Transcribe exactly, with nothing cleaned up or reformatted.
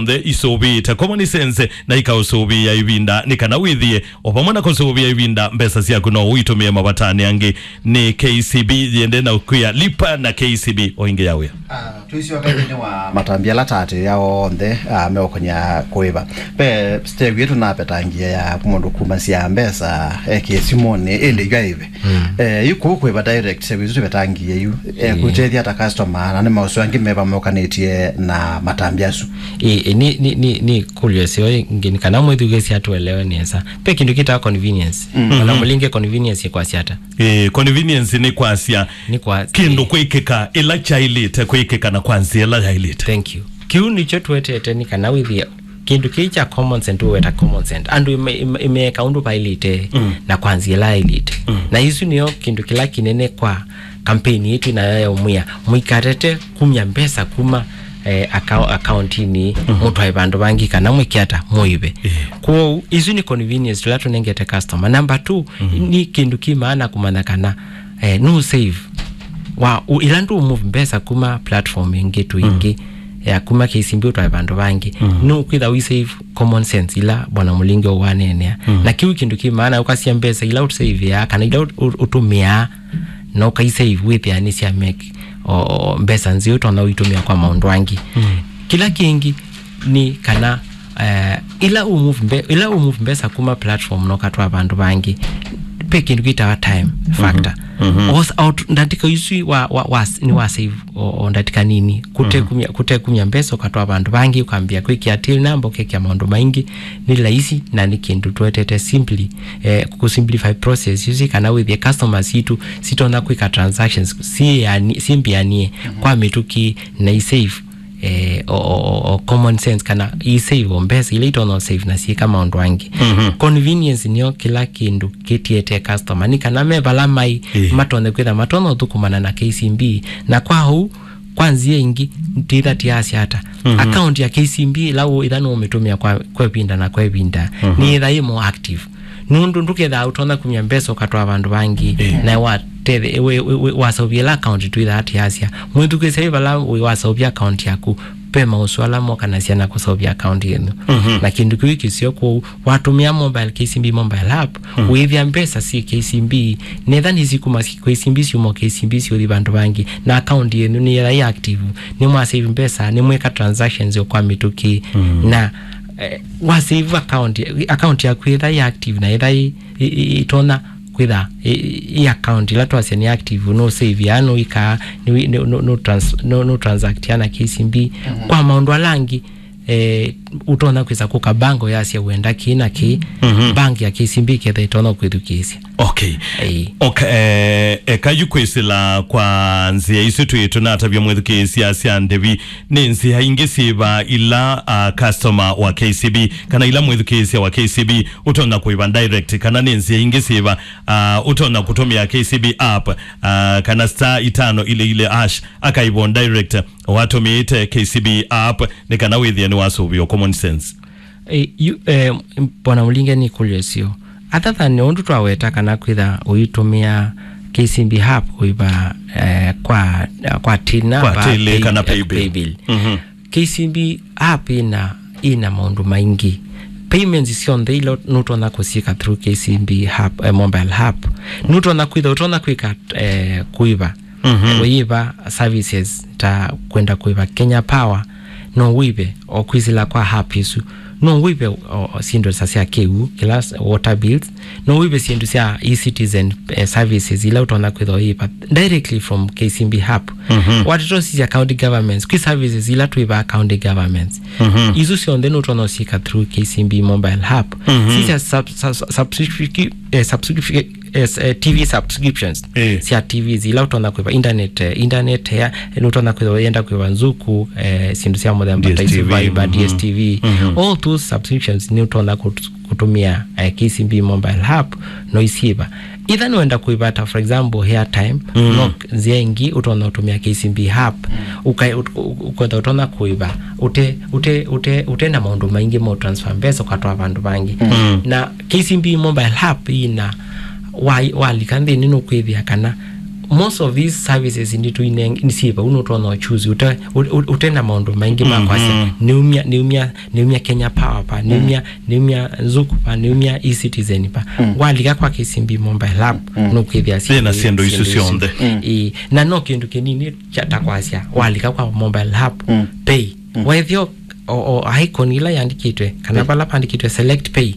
the isũvĩĩte common sense na ikaũsũvĩĩa ĩvinda, nĩ kana wĩthĩe o vamwe na kũsũvĩa ĩvinda, mbesa syaku no ũitũmĩe mavatanĩ angĩ. Nĩ K C B yĩendee na kwĩa lipa na K C B o ĩngĩ ya wĩa. Ah, tũisyoka nthĩnĩ wa matambya ala taatĩĩa onthe, ah, meũkonya kũĩva. Ve step ĩtũ napetangie ya mũndũ kumasya mbesa ekĩe simũnĩ, ĩndĩ yu aĩve. Mm. Eh, yu kũu kũĩva direct, step ĩsu tũvetangie yu. Eh, ĩĩ. Kũtethya ta customer, na nĩ maũsũ angĩ meva mokanĩtye na matambya asu. Ĩĩ, ĩĩ, nĩ, nĩ, nĩ, nĩ kũlyo syo ĩngĩ, nĩ kana mwĩthukĩĩsya tũelewe nesa. Pe kĩndũ kĩtawa convenience. Mm. Ona mũlinge convenience ĩkwasya ata? Eh, convenience nĩ kwasya nĩ kwa kĩndũ kwĩkĩka ĩla kyaĩlĩte kwĩkĩka na kwa nzĩa ĩla yaĩlĩte. Thank you. Kĩu nĩkyo twetete nĩ kana wĩthĩe kĩndũ kĩĩ kya common sense, tũweta common sense. Andũ ime-, ime-, imeeka ũndũ vaĩlĩte, mm, na kwa nzĩa ĩla yaĩlĩte. Mm. Na isu nĩyo kĩndũ kĩla kĩnene kwa kampeni ĩtũ nayo ya ũmwĩa, mũikatete kumya mbesa kuma, eh, aka-, akauntinĩ, mhm, mũtwae vandũ vangĩ kana mwĩke ata mũĩve. Eh. Kwoou, isu nĩ convenience tũla tũnengete customer. Number two, mhm, nĩ kĩndũ kĩ maana kũmanya kana, eh, nũ save. Wa, u-, ĩla ndũ move mbesa kuma platform ĩngĩ to, mhm, ĩngĩ, ya kuma K C B ũtwae vandũ vangĩ, mhm, nũ kwĩtha ũi save common sense ila Bwana Mũlingi ũwaneenea. Mhm. Na kĩu kĩndũ kĩ maana ũkasya mbesa ila ũsavea kana ila ũt-, ũt-, ũtũmĩaa na ũkaisave wĩthĩa nĩ sya make o, o, mbesa nzeo ũtonya ũitũmĩa kwa maũndũ angĩ. Mm. Kĩla kĩngĩ nĩ kana, eh, ĩla ũmove mbe-, ĩla ũmove mbesa kuma platform na ũkatwaa vandũ vangĩ, pe kĩndũ kĩtawa time factor. Mhm. Mhm. Os-, out-, ndatĩka isu wa, wa, wa, nĩ wa save o, o ndatĩka nini. Kũte, mhm, kumya, kũte kumya mbesa ũkatwaa vandũ vangĩ, ũkambĩa kwĩkĩa till number, ũkekĩa maũndũ maingĩ, nĩ laisi na nĩ kĩndũ twetete simply, eh, kũ simplify process isu kana wĩthĩe customers sitũ sitonya kwĩka transactions syĩani-, syĩmbĩanie, mhm, kwa mĩtũkĩ na i save, eh, o, o, o, o common sense kana i save o mbesa ila itonya save na syĩka maũndũ angĩ. Mhm. Convenience nĩyo kĩla kĩndũ kĩtietee customer. Nĩ kana me vala mai, ĩĩ, matonye kwĩtha matonya ũthũkũmana na K C B. Na kwa ũu, kwa nzĩa ĩngĩ, twĩtha tiasya ata? Mhm. Account ya K C B ĩla ũ-, ĩla nũũmĩtũmĩa kwa, kwa ĩvinda na kwa ĩvinda, mhm, nĩyĩtha yĩ more active. Nũndũ ndũkethaa ũtonya kumya mbesa ũkatwaa vandũ vangĩ, ĩĩ, na watethya, we, we, we, waseũvya ĩla account twĩthaa tiasya. Mwĩthukĩĩsya wĩ vala wĩ waseũvya account yaku, ve maũsũ ala mokanasya na kũseũvya account yenyu. Mhm. Na kĩndũ kĩu kĩseo kwoou, watũmĩa mobile, K C B mobile app, mm, wĩĩthĩa mbesa syĩ K C B, netha nĩsikuma K C B syuma K C B syũthi vandũ vangĩ, na account yenyu nĩyĩtha yĩ active, nĩmwasave mbesa, nĩmwĩka transactions o kwa mĩtũkĩ, mm, na, eh, wasave account, account yaku yĩtha yĩ active na yĩtha yĩ, yĩ, yĩ, ĩtonya kwĩtha yĩ, yĩ account ĩla twasya nĩ active, nũ save ya, nũ ĩkaa, nũ, nũ, nũ, nũ trans-, nũ, nũ transact ya na K C B, mhm, kwa maũndũ ala angĩ, eh, ũtonya kwĩsa kũka bank ũyasya wenda kĩ na kĩ, mhm, bank ya K C B ketha ĩtonya kwĩthukĩĩsya. Okay. Ĩĩ. Okay, eh, eka yu kwĩsĩla kwa nzĩa isu twĩ tũnatavya mwĩthukĩĩsya sya ndĩvi, nĩ nzĩa ingĩ syĩva ila, ah, customer wa K C B kana ila mwĩthukĩĩsya wa K C B ũtonya kũĩva direct, kana nĩ nzĩa ingĩ syĩva, ah, ũtonya kũtũmĩa K C B app, ah, kana star itano ile ile hash akaĩva direct watũmĩĩte K C B app nĩ kana wĩthĩe nĩwasũvĩwa common sense. Eh, yu, eh, Bwana Mũlinge nĩ kũlyo syo. Other than ũndũ twaweta kana kwĩtha ũitũmĩa K C B app kũĩva, eh, kwa, kwa till number, kwa till pay, kana pay bill. Pay bill. Mhm. K C B app ĩna, ĩna maũndũ maingĩ. Payments syonthe ila nũtonya kũsyĩka through K C B app, eh, mobile app. Nũtonya kwĩtha, ũtonya kwĩka, eh, kũĩva. Mhm. Ũyĩva services ta kwenda kũĩva Kenya Power, no wĩve o kwĩsĩla kwa app ĩsu. No wĩve o, o syĩndũ ta sya kĩw'ũ, kĩla s-, water bills. No wĩve syĩndũ sya e-citizen, eh, services ila ũtonya kwĩtha ũyĩva directly from K C B app. Mhm. Watata ũsisya county governments, kwĩ services ila twĩvaa county governments. Mhm. Isu syonthe nũtonya ũsyĩka through K C B mobile app. Mhm. Sisya sub-, sub-, subscription, eh, subscription, eh, eh, T V subscriptions, eh, sya T Vs ila ũtonya kwĩva internet, eh, internet ya, nũtonya kwĩva yenda kwĩva Zuku, eh, syĩndũ sya mũthemba ta isu, D S T V, Viber, mhm, D S T V, mhm, all those subscriptions nĩ ũtonya kũt-, kũtũmĩa, eh, K C B mobile app, no isyĩva. Either nĩwenda kwĩva ta, for example, airtime, mm, no nzĩa ĩngĩ ũtonya ũtũmĩa K C B app, mm, ũka-, ũt-, ũ-, ũketha ũtonya kũĩva, ũte, ũte, ũte, ũte na maũndũ maingĩ ma transfer mbesa ũkatwaa vandũ vangĩ. Mm. Na K C B mobile app ĩna, wa-, walika nthĩnĩ nũkwĩthĩa kana Most of these services nĩtũineng- nĩsyĩ vau, nũtonya ũchuzi ũte, ũ- ũ- ũte na maũndũ maingĩ ma kwasya. Mhm. Nĩumya, nĩumya, nĩumya Kenya Power pa, nĩumya, nĩumya Zuku pa, nĩumya eCitizen pa. Mm. Walika kwa K C B Mobile App, mm, nũkwĩthĩa yĩna syĩndũ isu syonthe. Mm. Ĩĩ, na no kĩndũ kĩnini kya ta kwasya, walika kwa Mobile App, mm, Pay. Mm. Wethĩa o, o icon ĩla yandĩkĩtwe, kana, mm, vala vandĩkĩtwe Select Pay,